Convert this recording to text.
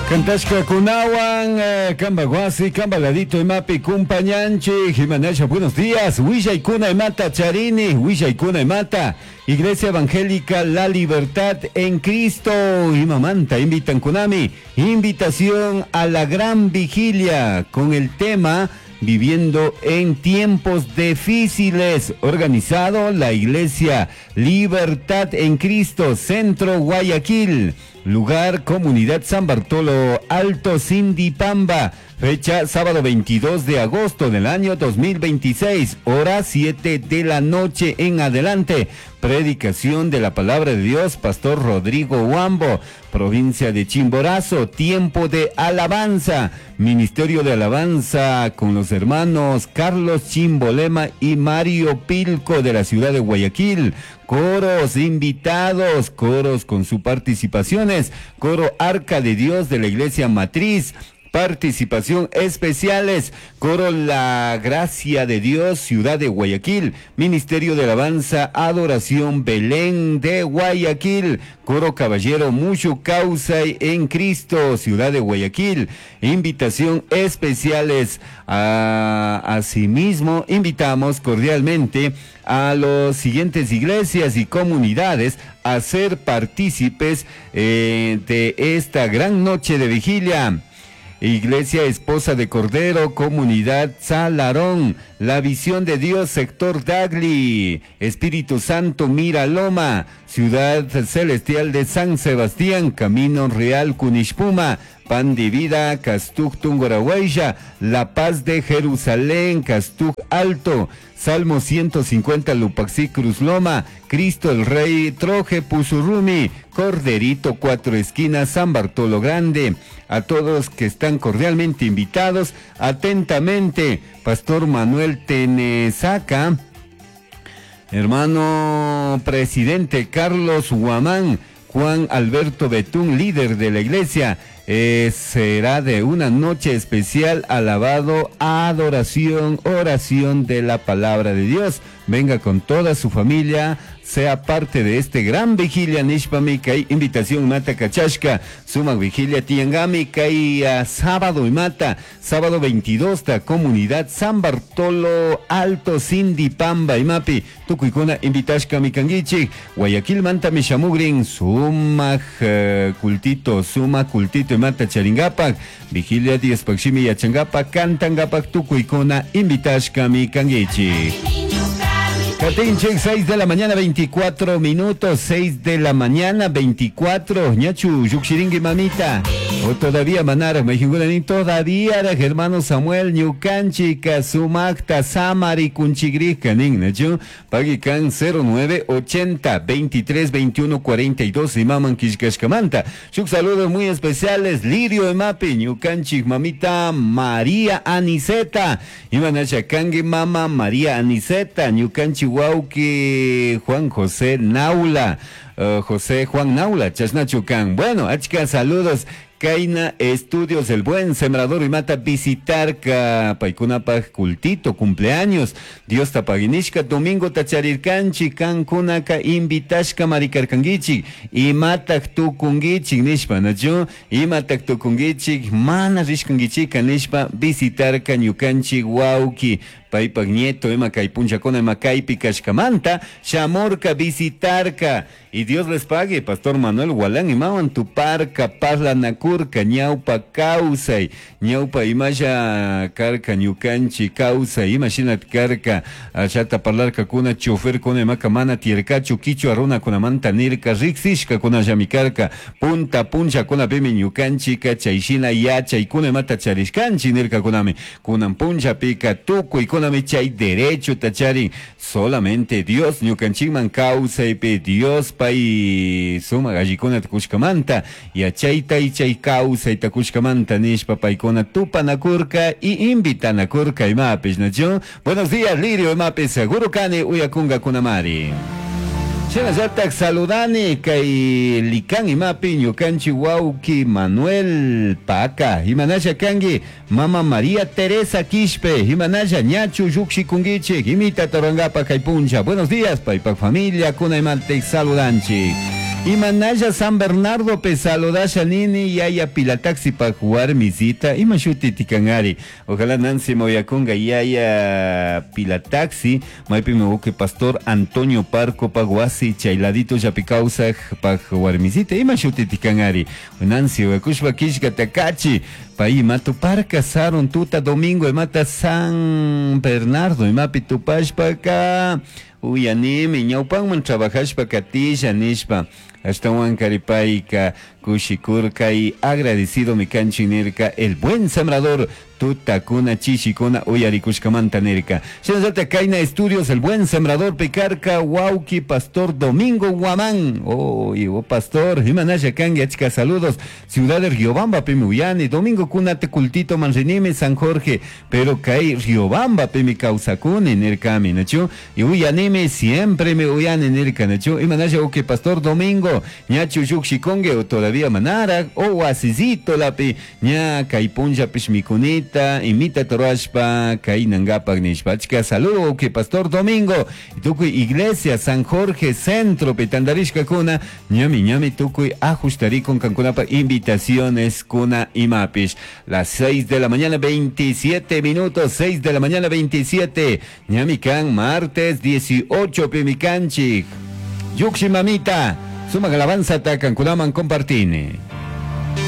Cantashkakunawan kamba wasi kamba ladito imapi kumpañanchik imanasha buenos días willaykuna imata charini willaykuna imata Iglesia Evangélica La Libertad en Cristo imamanta invitankunami invitación a la gran vigilia con el tema Viviendo en tiempos difíciles, organizado la Iglesia Libertad en Cristo, Centro Guayaquil. Lugar, Comunidad San Bartolo Alto, Sindipamba. Fecha, sábado 22 de agosto del año 2026, hora 7 de la noche en adelante. Predicación de la palabra de Dios, Pastor Rodrigo Huambo, provincia de Chimborazo, tiempo de alabanza, Ministerio de Alabanza con los hermanos Carlos Chimbolema y Mario Pilco de la ciudad de Guayaquil. Coros invitados, coros con sus participaciones, coro Arca de Dios de la Iglesia Matriz, participación especiales, coro La Gracia de Dios, Ciudad de Guayaquil, Ministerio de Alabanza, Adoración Belén de Guayaquil, coro Caballero Mucho Causa en Cristo, Ciudad de Guayaquil, invitación especiales. Asimismo, invitamos cordialmente a las siguientes iglesias y comunidades a ser partícipes de esta gran noche de vigilia. Iglesia Esposa de Cordero, Comunidad Salarón, La Visión de Dios, Sector Dagli, Espíritu Santo Miraloma, Ciudad Celestial de San Sebastián, Camino Real Cunishpuma, Pan de Vida, Castuj Tungurahua, La Paz de Jerusalén, Castuj Alto, Salmo 150 Lupaxí Cruz Loma, Cristo el Rey, Troje Pusurrumi, Corderito Cuatro Esquinas, San Bartolo Grande. A todos que están cordialmente invitados, atentamente, Pastor Manuel Tenesaca, hermano presidente Carlos Guamán, Juan Alberto Betún, líder de la iglesia, será de una noche especial, alabado, adoración, oración de la palabra de Dios. Venga con toda su familia, sea parte de este gran vigilia nishpami kay invitación mata kachashka, sumak vigilia tiangami kay sábado y mata, sábado 22 ta comunidad San Bartolo Alto Sindipamba imapi, tukuykuna invitashka mikanguichik, Guayaquil manta mishamugrin, sumak cultito, sumak cultito imata charingapak, vigilia Diospakshimi yachangapak, cantangapak tukuykuna invitashka mikanguichik. Katinchik, 6 de la mañana, 24 minutos, 6 de la mañana, 24. Ñachu, yukshiringui mamita. O todavía manara, me todavía era hermano Samuel, ñukanchika, sumakta, samari, kunchigrika, nin, nachu, pagikan 09 80 23 21 42 y maman kishkashkamanta. Shuk saludos muy especiales, Lirio Emapi, ñukanchik, mamita María Aniceta. Imanasha kangi mama María Aniceta, ñukanchik wauki Juan José Naula, José Juan Naula, Chasnachucan. Bueno, achka saludos. Kaina Estudios El Buen Sembrador y Mata visitar ka paykunapaj cultito cumpleaños. Dios tapaginishka domingo tacharirkanchi kankunaka invitashka marikarkankichik imatak tukunkichik nishpa nachu imatak tukunkichik mana rishkankichika nishpa visitarka ñukanchik wawki paypak nieto ima kay punchakuna ima kaypi kashkamanta shamurka visitarka y Dios les pague Pastor Manuel Gualán imawan tuparka parlanakurka ñawpa kawsay ñawpa imasha karka ñukanchik kawsay imashina karka ashata parlarkakuna choferkuna imaka mana tiyarkachu kichwa runakunamanta nirka riksishkakunallami karka punta punchakunapimi ñukanchika chayshina yachaykuna imata charishkanchik nirkakunami kunan punchapika tukuykunami chay derecho charin solamente Dios ñukanchikman kawsaypi Dios pay sumak allikunata kushkamanta yachayta y chay kawsayta kushkamanta nishpa paykuna tupanakurka y invitanakurka imapish nachu. Buenos días Lirio imapish seguro kani uyakunkakunamari. Shinallatak saludani kay Likan imapi ñukanchik wawki Manuel Paca imanasha kanki mama María Teresa Quispe imanasha ñachu llukshikunkichik imita tarangapak kay puncha. Buenos días paypak familia kuna imantik saludanchik. Imanalla San Bernardo pe saludasha nini yaya pilataxi pa warmisita ima shuti tikanari. Ojalá Nancy moyakunga yaya pilataxi maypimi uke pastor Antonio Parco pa wasi chay ladito llapi kawsaj pa warmisita ima shuti tikanari. Nancy uyakushpa killkata kachi pay ima tuparka sarun tuta domingo imata San Bernardo imapi tupashpaka uyanimi ñawpanman trabajashpa katisha nishpa ashtawan karipayka kushikurka y agradecido mi kanchik nirka el buen sembrador tutakuna chishikuna uyarikushkamanta nirka. Shinallata kayna estudios el buen sembrador picarca wauki pastor Domingo Guamán. Oh, y oh, pastor, imanalla kanki achka saludos. Ciudad de Riobamba pimi uyani, domingo kunata cultito manrinimi San Jorge, pero kay Riobamba pimi kawsakuni nirkami, nachu? Y uyanimi siempre me uyani nirka, nachu? Imanalla uki pastor Domingo, ñachu llukshikunki o todavía manara, o wasisito lapi, ña kay punllapish mikunita, imita torashpa, kay nangapak nishpa. Achka saludo uki pastor Domingo, tukuy iglesia San Jorge Centro pitandarishkakuna, ñami ñami tukuy ajustarikun kankunapa invitaciones kuna imapish. Las 6 de la mañana 27 minutos, 6 de la mañana 27, ñami kan martes 18 pimikanchik. Yuxi mamita, sumak alabanza kankunaman compartini.